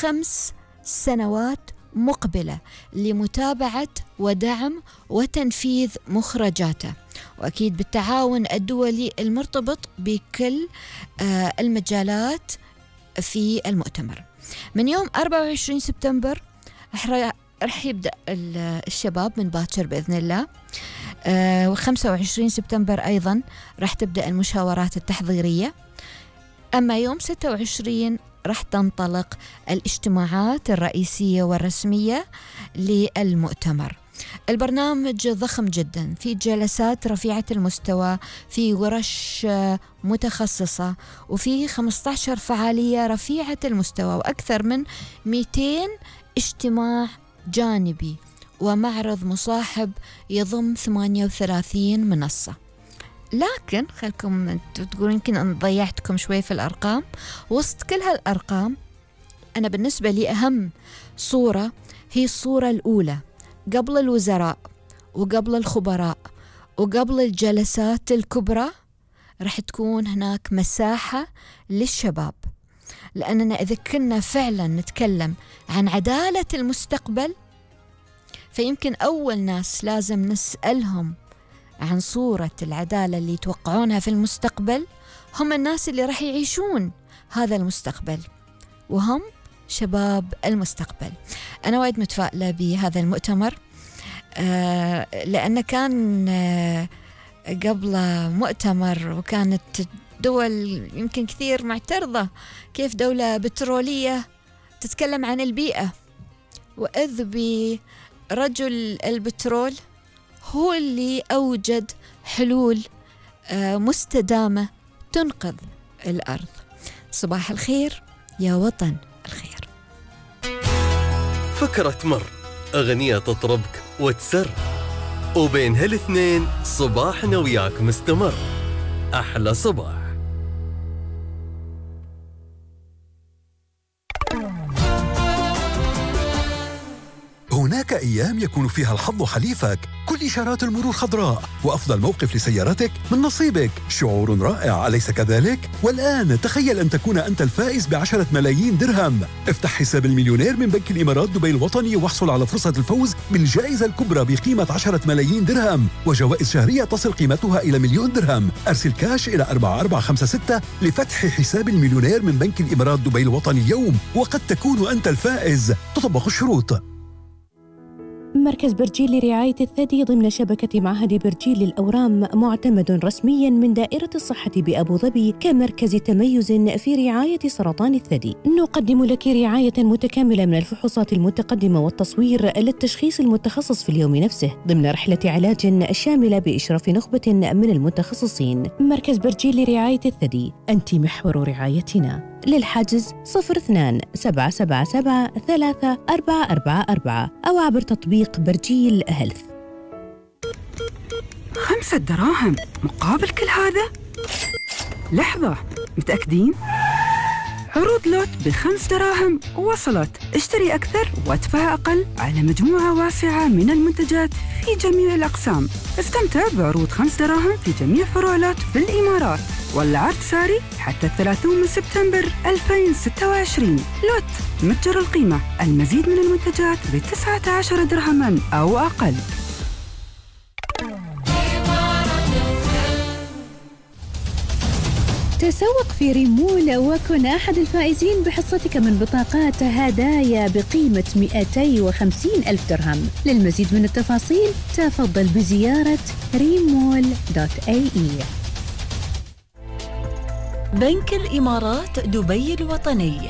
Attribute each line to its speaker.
Speaker 1: 5 سنوات مقبلة لمتابعة ودعم وتنفيذ مخرجاته، وأكيد بالتعاون الدولي المرتبط بكل المجالات في المؤتمر. من يوم 24 سبتمبر رح يبدأ الشباب من باكر بإذن الله، و25 سبتمبر أيضا رح تبدأ المشاورات التحضيرية. أما يوم 26 رح تنطلق الاجتماعات الرئيسية والرسمية للمؤتمر. البرنامج ضخم جدا، في جلسات رفيعة المستوى، في ورش متخصصة، وفي 15 فعالية رفيعة المستوى، وأكثر من 200 اجتماع جانبي، ومعرض مصاحب يضم 38 منصة. لكن خلكم تقولون يمكن أن ضيعتكم شوي في الأرقام. وسط كل هالأرقام أنا بالنسبة لي أهم صورة هي الصورة الأولى، قبل الوزراء وقبل الخبراء وقبل الجلسات الكبرى رح تكون هناك مساحة للشباب. لأننا إذا كنا فعلا نتكلم عن عدالة المستقبل، فيمكن أول ناس لازم نسألهم عن صورة العدالة اللي يتوقعونها في المستقبل هم الناس اللي رح يعيشون هذا المستقبل، وهم شباب المستقبل. أنا وايد متفائلة بهذا المؤتمر، لأنه كان قبل مؤتمر وكانت دول يمكن كثير معترضة كيف دولة بترولية تتكلم عن البيئة، وإذ برجل البترول هو اللي أوجد حلول مستدامة تنقذ الأرض. صباح الخير يا وطن الخير.
Speaker 2: فكرة تمر، أغنية تطربك وتسر، وبين هالاثنين صباحنا وياك مستمر. أحلى صباح.
Speaker 3: هناك أيام يكون فيها الحظ حليفك، كل إشارات المرور خضراء، وأفضل موقف لسيارتك من نصيبك. شعور رائع، أليس كذلك؟ والآن تخيل أن تكون أنت الفائز ب10 ملايين درهم. افتح حساب المليونير من بنك الإمارات دبي الوطني واحصل على فرصة الفوز بالجائزة الكبرى بقيمة 10 ملايين درهم، وجوائز شهرية تصل قيمتها إلى 1,000,000 درهم. أرسل كاش إلى 4456 لفتح حساب المليونير من بنك الإمارات دبي الوطني اليوم، وقد تكون أنت الفائز. تطبق الشروط.
Speaker 4: مركز برجيل لرعاية الثدي ضمن شبكة معهد برجيل للأورام معتمد رسمياً من دائرة الصحة بأبو ظبي كمركز تميز في رعاية سرطان الثدي. نقدم لك رعاية متكاملة من الفحوصات المتقدمة والتصوير للتشخيص المتخصص في اليوم نفسه ضمن رحلة علاج شاملة بإشراف نخبة من المتخصصين. مركز برجيل لرعاية الثدي، أنت محور رعايتنا. للحجز 02-777-3444 أو عبر تطبيق برجيل هيلث.
Speaker 5: 5 دراهم مقابل كل هذا؟ لحظة، متأكدين؟ عروض لوت ب5 دراهم وصلت. اشتري أكثر وادفع أقل على مجموعة واسعة من المنتجات في جميع الأقسام. استمتع بعروض 5 دراهم في جميع فروع لوت في الإمارات، والعرض ساري حتى 30 سبتمبر 2026. لوت متجر القيمة، المزيد من المنتجات ب19 درهما أو أقل.
Speaker 4: تسوق في ريمول وكن أحد الفائزين بحصتك من بطاقات هدايا بقيمة 250,000 درهم. للمزيد من التفاصيل تفضل بزيارة remol.ae.
Speaker 6: بنك الإمارات دبي الوطني،